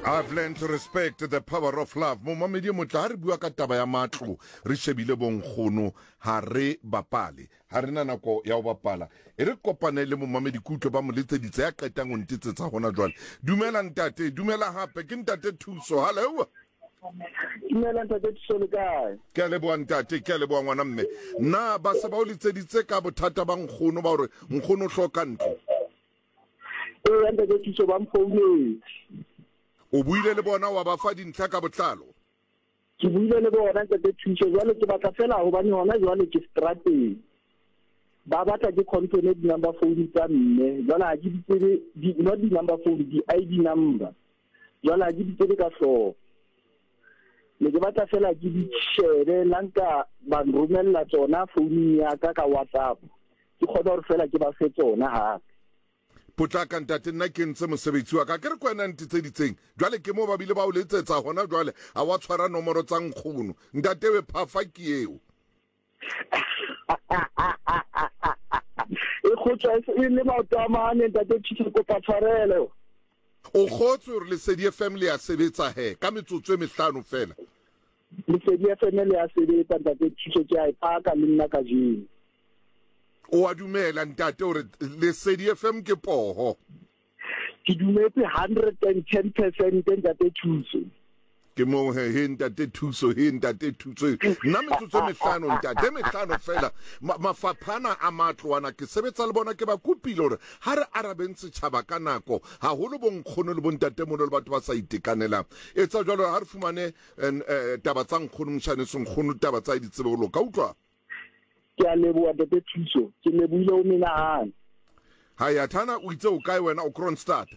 I've learned to respect the power of love. Momamedi e motle, ha re bua ka taba ya matlo, re shebile bonkgono, ha re bapale. Ha re na nako ya ho bapala. E re kopane le momamedi kutlo ba mo letseditse ya qetang ho ntetsetsa hona jwale. Dumela ntate, dumela hape, ke ntate Thuso. Hallo. Dumela ntate Thuso le kae? Ke a leboha ntate, ke a leboha ngwana mme. Na ba se ba o letseditse ka bothata ba nkgono ba hore nkgono o hloka ntlo? Ee, ntate Thuso ba mfounetse. O buile le bona wa ba fa dintlha ka botlalo? Ke buile le bona ntate Thuso, jwale ke batla fela hobane hona jwale ke strateng. Ba batla ke confirm di-number phone tsa mme, jwale ha ke di tsebe, di, not di-number phone, di-ID number. Jwale ha ke di tsebe ka hlooho. Ne ke batla fela ke di shebe la nka ba nromella tsona founung ya ka ka WhatsApp. Ke kgone hore fela ke ba fe tsona hape. Potlaka ntate nna ke ntse mosebetsi wa ka ke re ko wena ntetseditseng jwale ke mo ba bile ba o letsetsa hona jwale a wa tshwara nomoro tsa nkgono ntate we phafa ke eo. E kgotswa e le maoto a mane ntate Thuso kopa tshwarelo. O kgotswe hore Lesedi FM le ya sebetsa he ka metsotso e mehlano fela. Lesedi FM le ya sebetsa ntate Thuso ke a e paka le nna kajeno. O a dumela ntate hore Lesedi FM ke poho? Ke dumetse 110% ntate Thuso. Ke moo he, he ntate Thuso, he ntate Thuso. Nna metsotso e mehlano ntate, mehlano fela. Ma, mafaphana a matlo ana ke sebetsa le bona ke ba kopile hore ha re arabeng setjhaba ka nako, haholo bonkgono le bontatemoholo le batho ba sa itekanelang. Etsa jwalo ha re fumane eh, taba tsa nkgono moshaneso nkgono taba tsa di tsebe ho loka utlwa. Ke a leboha Ntate Thuso. Ke lebohile ho menahane. Haya Thana o itse o kae wena o Kroonstad?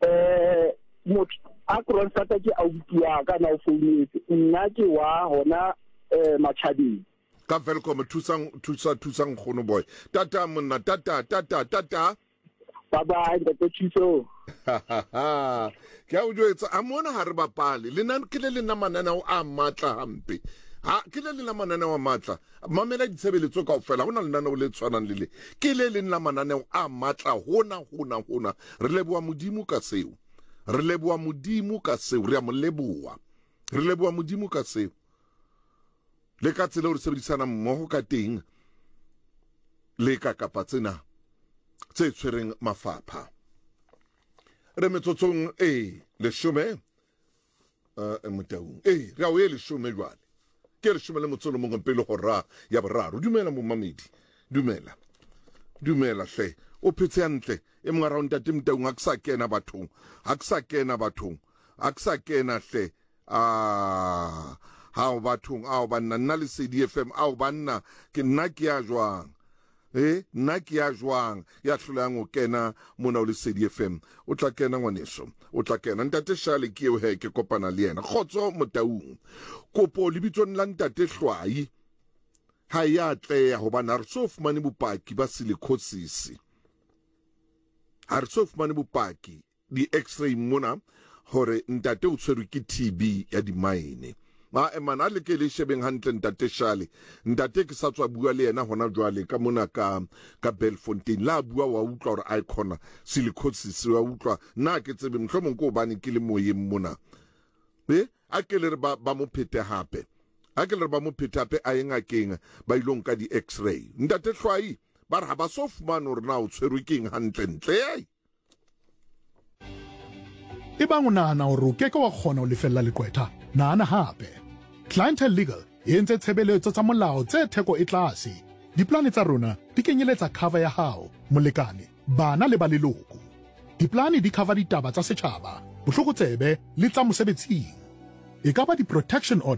Eh motho a Kroonstad ke ausi wa ka na o founetse. Nna ke wa hona eh Machabeng. Ka Welkom thusang thusa thusang nkgono boy. Tata monna tata tata tata. Bye bye Ntate Thuso. Ke a o jwetsa a mona ha re bapale le nna ke le leng la mananeo a matla hampe ha ke le leng la mananeo a matla mamela ditshebeletso kaofela ha hona lenaneo le tshwanang le le ke le leng la mananeo a matla hona hona hona re leboha modimo ka seo re leboha modimo ka seo re a mo leboha re leboha modimo ka seo le ka tsela eo re sebedisanang mmoho ka teng le ka kapa tsena tse tshwereng mafapha re metsotsong e leshome uh, motaung ee re a o e leshome jwale ke leshome le motso le mongwe pele hora ya boraro dumela momamedi dumela dumela hle o phetse hantle e mongwe ra ntate motaung ha ke sa kena bathong ha ke sa kena bathong ha ke sa kena hle Ah, hao bathong, ao banna, nna Lesedi FM, ao banna, ke nna ke ya jwang? Eh, nna ke ya jwang ya hlolang o kena mona o Lesedi FM? O tla kena ngwaneso, o tla kena. Ntate Shale ke eo he ke kopana le yena. Kgotso Motaung. Kopo lebitsong la Ntate Hlwai ha e a atleha hobane ha re so fumane bopaki ba silicosis. Ha re so fumane bopaki di-x-ray mona hore ntate o tshwerwe ke TB ya dimaene. Ae man, a le ke le shebeng hantle ntate Shale. Ntate ke sa tswa bua le yena hona jwale ka mona ka ka Belfontein. La bua wa utlwa hore ae khona silicosis wa utlwa. Nna ke tsebe mohlomong ke hobane ke le moyeng mona. E a ke le re ba ba mo phete hape. A ke le re ba mo phete hape a ye ngakeng ba ilo nka di-x-ray. Ntate Hlwai ba re ha ba so fumane hore na o tshwerwe ke eng hantle ntle. Ebang o nahana hore o keke wa kgona ho lefella leqwetha, nahana hape. Clientele Legal e entse tshebeletso tsa molao tse theko e tlase. Diplane tsa rona di kenyeletsa cover ya hao, molekane, bana le ba leloko. Diplane di cover ditaba tsa setjhaba, bohlokotsebe le tsa mosebetsing. E ka ba di-protection order.